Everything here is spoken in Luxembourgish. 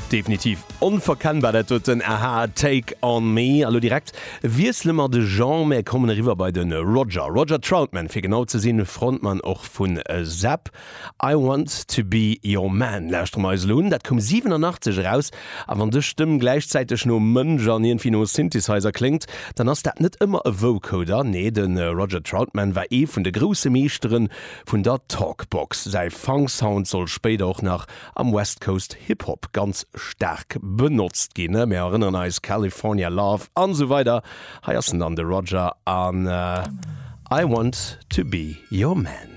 Definitiv onverkennbar dat doten, aha, Take On Me. A lo direkt wiessele mer de Genre, mär kommen eriwwer bei de Roger, Roger Troutman fir genau ze sinn, Frontmann och vun Zapp. I Want To Be Your Man lauschtere mer eis elo un, dat koum 87 eraus. A wann dës Stëmm gläichzäiteg no Mënsch an iergendwéi no Synthesizer kléngt, dann ass dat net ëmmer e Vocoder. Nee, de Roger Troutman war ee vun de grousse Meeschtere vun der Talkbox. Säi Funk-Sound soll spéider och nach am West Coast Hip Hop ganz staark benotzt ginn, mir erënneren eis, California Love an esou weider. Hei ass en dann, de Roger an I Want To Be Your Man.